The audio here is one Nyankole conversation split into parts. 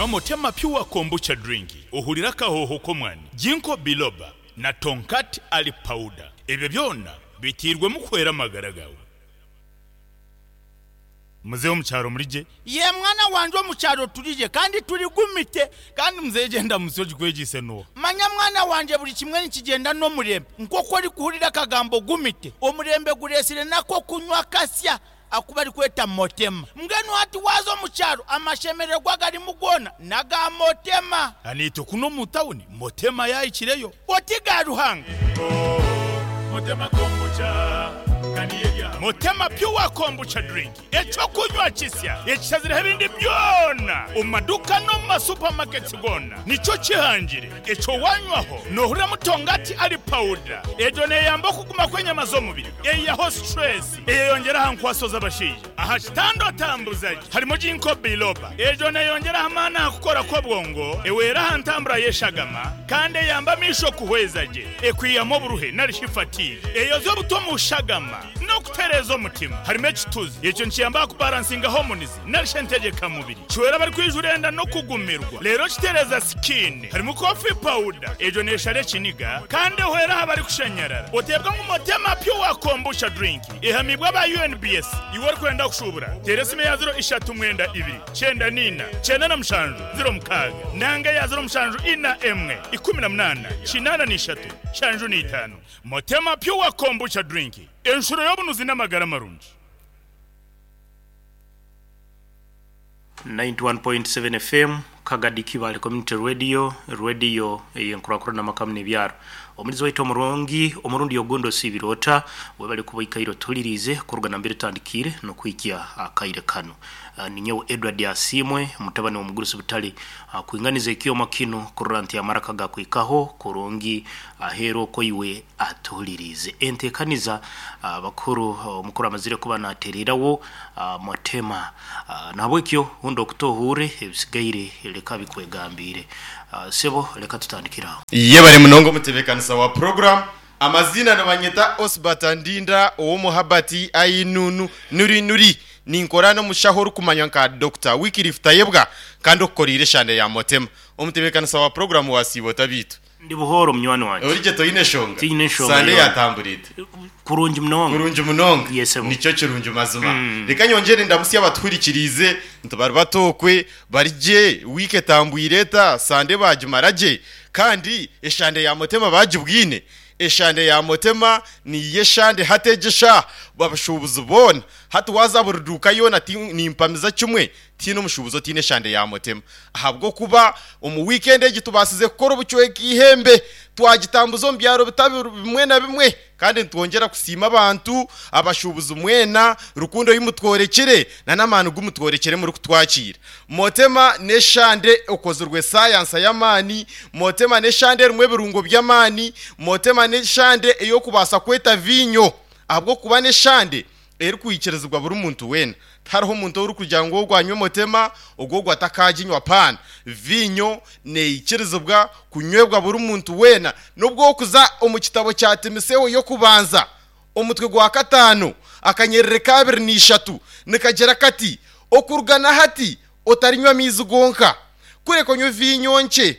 Nywa Motema Pure Kombucha Drink ohurire akahooho k'omwani, Ginkgo Biloba na Tongkat Ali Powder. Ebyo byona biteirwemu kuhwera amagara gaawe. Muzeeyi omu kyaro muri gye? Yee mwana wangye omu kyaro turi gye kandi turi gumite. Kandi muzeeyi gyenda musyo ogikwegyeise n'oha? Manya mwana wangye buri kimwe nikigyenda n'omurembe. Nk'oku orikuhurira akagambo gumite, omurembe gureetsire n'ak'okunywa kasya aku barikweta Motema. Mbwenu hati waaza omu kyaro amashemererwa agarimu goona n'aga Motema. Naitwe kunu omu tawuni Motema yaahikireyo. Oti ga Ruhanga. Motema Pure Kombucha Drink, eky'okunywa kisya ekishazireho ebindi byona omu maduuka n'omu ma supermarkets goona nikyo kihangire. Ekyo wanywaho nohuriramu tongati ali powder. Egyo neyamba okuguma kw'enyama z'omubiri, eyihaho stress, eyeyongyera aha nkwaso z'abashaija. Aha kitanda otambuza gye harimu Ginkgo biloba. Egyo neyongyera aha maani aha kukora kw'obwongo, ehwera aha ntambura y'eshagama kandi eyamba amaisho kuhweza gye, ekwihamu oburuhe nari shi fatigue, eyoza obutwa omu shagama n'okutereeza omutima. Harimu ekituzi, ekyo nikiyamba aha kubaransinga hormones nari shi entegyeka mubiri. Kihwera abarikwijura enda n'okugumirwa reero kitereeza sikiini. Harimu coffee powder, egyo neeshara ekiniga kandi ehwera aha barikushanyarara. Oteebwa ngu Motema Pure Kombucha Drink ehamiibwe aba UNBS. Iwe orikwenda kushuubura, teera esimu eya ziro ishatu mwenda ibiri, kyenda naina, kyenda na mushanju, ziro mukaaga nanga eya ziro mushanju ina emwe, ikumi na munaana, kinaana na ishatu, nshanju na itaano. Motema Pure Kombucha Drink, enshuro y'obunuzi n'amagara marungi. 91.7 FM, Kagadi Kibaale Community Radio, rwediyo ey'enkurakurana amaka muno ebyaro. Omulizi waitu omurungi, omurundi ogundi osiibire ota? Webale kuba oikaire otuhuliriize kuruga nambere tutandikiire n'okuhikya akaire kanu. Ninyowe Edward Asiimwe, mutabani w'omugurusi Butale, kwinganiza ekyoma kinu kurora nti amaraka gakuhikaho kurungi aheeru okwo iwe atuhuliriize. Entekaniza abakuru, omukuru amazire kuba natererawo Motema. Nahabwekyo hunda okutu ohuurre, ebisigaire leka bikwegambiire. Sebo leka tutandikire aho. Yebare munonga omutebekanisa wa program. Amaziina nibanyeta Osbert Ndinda ow'omu Herbert Ainunu Nuri Nuri. Ninkora n'omushaho orikumanywa nka Dokita Wycliffe Tayebwa kandi okukoreire eshande ya Motema. Omutebekanisa wa program wasiiba ota beitu? Ndi buhooro munywani wangye. Ori gye toine shonga? Tinyine nshonga Sande yoona. yatambura eta? Kurungi munonga. Kurungi munonga. Yes sebo. Nikyo kirungi mazima. Reka nyongyere ndamutsye abatuhurikiriize nti bari bata okwe, bari gye, wiiki etambwire eta, Sande baagimara gye? Kandi eshande ya Motema baagibwine? Eshande ya Motema niyo eshande hati egi eshaaha abashuubuzi boona hati waaza buri duuka yoona nimpamiza kimwe Tihaine omushuubuzi otaine eshande ya Motema ahabw'okuba omu wiikendi egi tubaasize kukora obucweka eihembe twagitambuza omu byaro bitari bimwe na bimwe kandi nitwongyera kusiima abantu, abashuubuzi mwena rukundo ei mutworekire n'amaani gu mutworekire murikutwakiira. Motema n'eshande ekozirwe saayansa y'amaani, Motema n'eshande erimu ebirungo by'amaani, Motema n'eshande ey'okubaasa kweta viinyo ahabw'okuba n'eshande erikwikirizibwa buri muntu weena. Tihariho muntu orikugira ngu ogu anywe motema, ogu ogu atakaaginywa paana. Viinyo neikirizibwa kunywebwa buri muntu weena. N'obu okuza omu kitabo kya Timotheo y'okubanza, omutwe gwa kataano, akanyerere ka abiri na ishatu, nikagira kati, Okuruga na hati otarinywa amaizi gonka, kureka onywe viinyo nkye.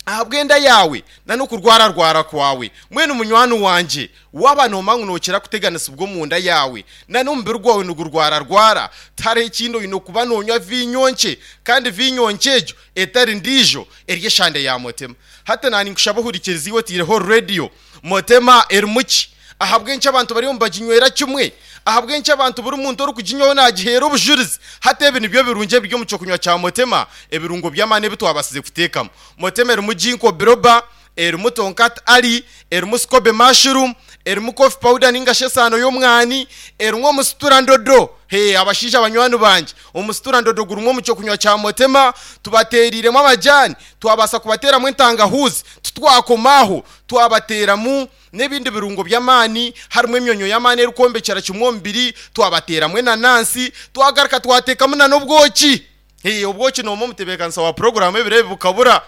ahabw'enda yaawe na n'okurwararwara kwawe. Mbwenu munywani wangye, waaba noomanya ngu nookira kuteganisibwa omunda yaawe na n'omubiri gwawe nigurwararwara, tihariho ekindi oine kuba noonywa viinyo nkye, kandi viinyo nkye egyo etari ndiijo, eri eshande ya Motema. Hati naaninkushaba ohurikirize iwe otaireho rediyo. Motema erimu ki? Ahabw'enki abantu bariyo nibaginywera kimwe? Ahabw'enki abantu buri muntu orikuginywaho naagiheera obujurizi? Hati ebi nibyo birungi ebiri omu ky'okunywa kya Motema, ebirungo by'amaani ebi twabaasize kuteekamu. Motema erimu Ginkgo biloba, erimu Tonkat Ali, erimu Scobe mushroom, erimu coffee powder nainga shi esaano y'omwani, erimu omusitura ndodo. Hee, abashaija banywani bangye, omusitura ndodo gurimu omu ky'okunywa kya Motema. Tubateereiremu amajaani, twabaasa kubateeramu entangahuuzi, titwakoma aho, twabateeramu n'ebindi birungo by'amaani, harimu emyonyo y'amaani erikwombekyera kimwe omubiri, twabateeramu enanansi, twagaruka twateekamu na n'obwoki. Hee, obwoki noomwe omutebeekanisa wa puroguraamu ebiro ebi bukabura.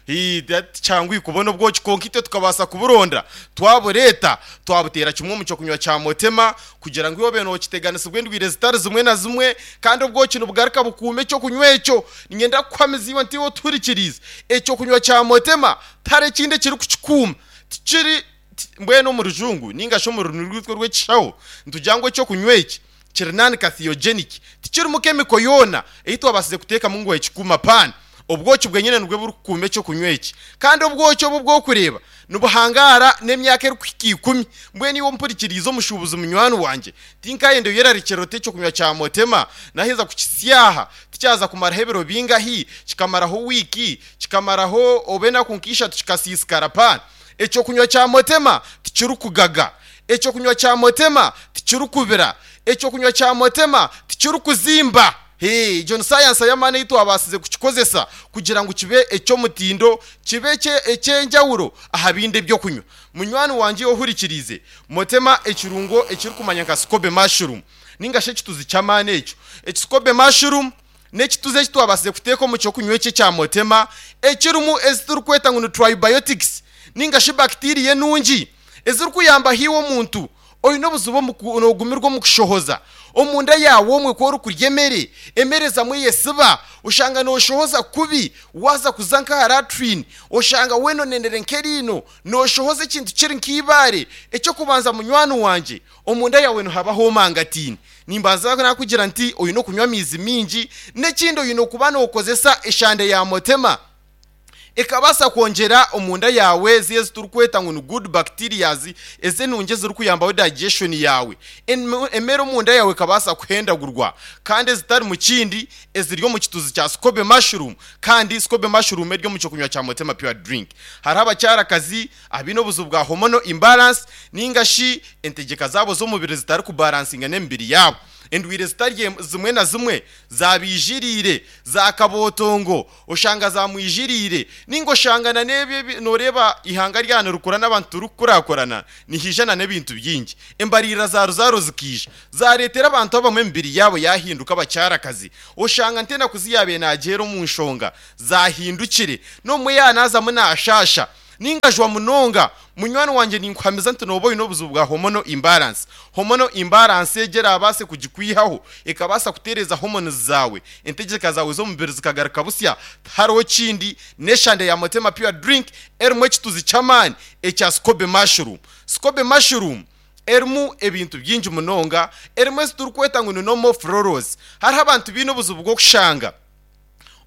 Hii, tikyanguhi kubona obwoki kwonka itwe tukabaasa kuburonda twabureeta twabuteera kimwe omu kyokunywa kya Motema kugira ngu iwe obe nookiteganisibwa endwire zitari zimwe na zimwe kandi obwoki nibugaruka bukuuma ekyokunywa ekyo. Niinyenda kukuhamiza iwe nti iwe otuhurikiriize, ekyokunywa kya Motema tihariho ekindi ekirikukikuuma. Tikiri, mbwenu omu rujungu nainga shi omu rurimi rwaitu orw'ekishaho nitugira ngu ekyokunywa eki kiri non-carcinogenic, tikirimu kemiko yoona ei twabaasize kuteekamu ngu ekikuuma pan. Obwoki bwenyine nibwo burikukuuma eky'okunywa eki. Kandi obwoki obu obw'okureeba nibuhangaara n'emyaka erikuhika ikumi. Mbwenu iwe ompurikiriize omushuubuzi munywani wangye, tinkayenda oyerarikirire oti eky'okunywa kya Motema naheza kukisya aha tikyaza kumaraho ebiro bingahi, kikamaraho wiiki, kikamaraho oba enaku nka ishatu kikasiisikara pan. Eky'okunywa kya Motema tikirikugaga. Eky'okunywa kya Motema tikirikubira. Eky'okunywa kya Motema tikirikuzimba. Hee, egyo ni sayansa y'amaani ei twabaasize kukikozesa kugira ngu kibe eky'omutindo, kibe eky'enjawulo aha bindi eby'okunywa. Munywani wangye ohurikiriize, Motema ekirungo ekirikumanywa nka Scobe Mushroom ninga shi ekituzi ky'amaani ekyo. Eki Scobe Mushroom n'ekituzi eki twabaasize kuteeka omu ky'okunywa eki ekya Motema ekirimu ezi turikweta ngu ni Tribiotics ninga shi bacteria enungi ezirikuyambaho iwe omuntu Oine obuzibu omu ku, noogumirwa omu kushohoza. Omunda yaawe omwe ku orikurya emere, emere zamwe eyesiba, oshanga nooshohoza kubi, waaza kuza nk'aha latrine, oshanga weena onenere nk'eriino, nooshohoza ekintu kiri nk'eibaare. Eky'okubanza munywani wangye, omunda yaawe nihaba hoomangataine. Nimbanza naakugira nti oine kunywa amaizi maingi, n'ekindi oine kuba nookozesa eshande ya motema. Ekabaasa kwongyera omunda yaawe ezi ezi turikweta ngu ni good bacterias ezi enungi ezirikuyambaho digestion yaawe. Emere omunda yaawe ekabaasa kuhendagurwa kandi ezitari mu kindi eziri omu kituzi kya scobe mushroom kandi scobe mushroom eri omu kyokunywa kya Motema Pure Drink. Hariho abakyarakazi abaine obuzibu bwa hormonal imbalance ninga shi entegyeka zaabo z'omubiri zitarikubalansinga n'emibiri yaabo. Endwire zitari zimwe na zimwe zabaijiriire za kabootongo Oshanga zamwijiriire, ninga oshanga na n'ebyo ebi noreeba eihanga rya nirikura n'abantu turikukurakurana, nihaija na n'ebintu bingi. Embariirira za ruzaaro zikaija, zareetera abantu abamwe emibiri yaabo yahinduka abakyarakazi. Oshanga ntenaku zi yaabaire nagyeera omu nshonga zahindukire, n'obumwe yaanazamu naashaasha. Ninga jwa munonga. Munywani wangye ninkuhamiza nti nooba oine obuzibu bwa hormonal imbalance. Hormonal imbalance egi eraabaase kugikwihaho, ekabaasa kutereeza hormones zaawe, entegyeka zaawe z'omubiri zikagaruka busya, tihariho kindi, n'eshande ya Motema Pure Drink erimu ekituzi ky'amaani ekya Scobe Mushroom. Scobe Mushroom erimu ebintu bingi munonga, erimu ezi turikweta ngu ni normal florals. Hariho abantu baine obuzibu bw'okushanga.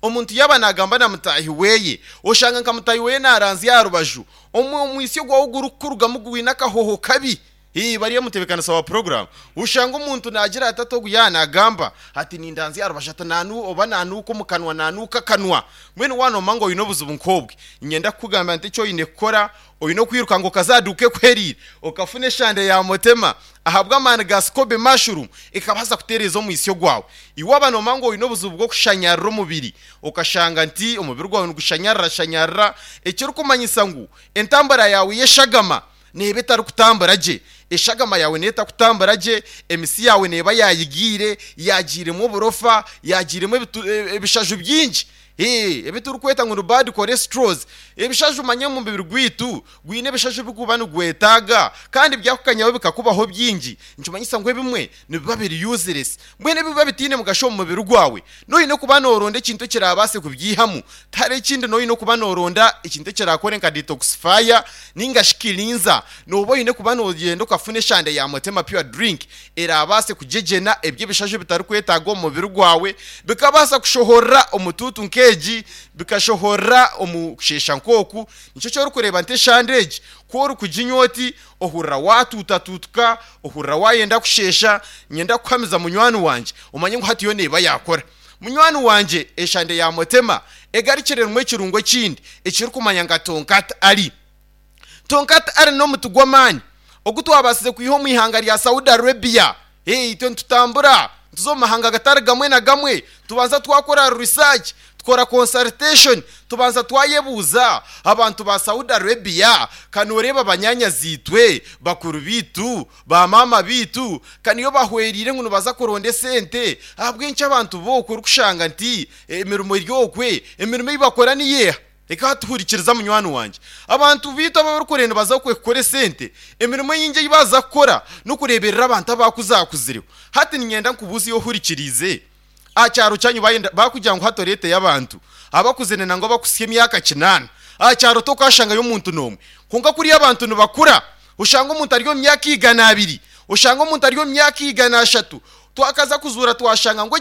Omuntu yaaba naagamba na mutaahi we, oshanga nka mutaahi we naaranzya aha rubaju, omwitsyo gwawe ogurikukurugamu gwine akahooho kabi. Hii, bari omutebeekanisa wa puroguraamu, oshanga omuntu naagira ati, ati ogu yaaba naagamba ati nindanzya aha rubaju ati naanu oba naanuuka omu kanwa, naanuuka akanwa. Mbwenu waaba noomanya ngu oine obuzibu nk'obwe, niinyenda kukugambira nti eki oine kukora, oine okwiruka ngu okaza aha duuka ekuhereire, okafuna eshande ya mutema ahabw'amaani ga scobe mushroom ekabaasa kutereeza omwitsyo gwawe. Iwe waaba noomanya ngu oine obuzibu bw'okushanyarira omubiri, okashanga nti omubiri gwawe nigushanyarira-shanyarira, ekirikumanyisa ngu entambura yaawe y'eshagama neeba etarikutambura gye. Eshagama yaawe neeba etarikutambura gye, emitsi yaawe neeba yaayigiire, yaagiiremu oburofa, yaagiiremu ebishaju bingi. Ebi turikweta ngu ni bad cholesterols. Ebishaju manya omubiri gwaitu gwine ebishaju ebi guba nigwetaaga kandi byakukanyaho bikakubaho bingi nikimanyisa ngu ebimwe nibiba biri useless. Mbwenu ebiba bitaine mugasho omu mubiri gwawe noine kuba noronda ekintu ekirabaase kubyihamu. Tihariho ekindi noine kuba noronda ekintu ekirakore nka detoxifier ninga shi cleanser. Noba oine kuba nogyenda okafuna eshande ya Motema Pure Drink eraabaase kugyegyena ebyo ebishaju ebitarikwetaagwa omu mubiri gwawe, bikabaasa kushohorera omu tuutu nk'egi, bikashohorera omu kusheesha nk'oku. Nikyo eki orikureeba nti eshande egi ku orikuginywa oti, ohurira waatuutatuutuka, ohurira waayenda kusheesha. Niinyenda kukuhamiza munywani wangye, omanye ngu hati yo neeba yaakora. Munywani wangye, eshande ya Motema egarukire erimu ekirungo ekindi ekirikumanywa nka Tonkat Ali. Tonkat Ali n'omuti gw'amaani ogu twabaasize kwiha omu ihanga rya Saudi Arabia. Hey, itwe nitutambura nituza omu mahanga gatari gamwe na gamwe, tubanza twakora research, tukora consultation, tubanza twayebuuza abantu ba Saudi Arabia, ka nooreeba banyaanyazi-itwe, bakuru baitu, ba maama baitu, ka niyo bahwereire ngu nibaza kuronda esente, ahabw'enki abantu b'okwo orikushanga nti emirimo eri okwe, emirimo ei bakora niyo eha? Reka tuhurikiriza munywani wangye. Abantu baitu abarikure nibaza kukora esente, emirimo eyingi ei baaza kukora n'okureeberera abantu abakuzakuzireho. Hati niinyenda nkubuuze iwe ohurikiriize, aha kyaro kyanyu bayenda bakugira ngu hati oreeteyo abantu abakuzire nangwa abakuhitsya emyaka kinaana, aha kyaro tokaashangayo omuntu n'omwe. Kwonka kuriya abantu nibakura, oshanga omuntu ari omu myaka 200, oshanga omuntu ari omu myaka 300, twakaza kuzuura twashanga ngu.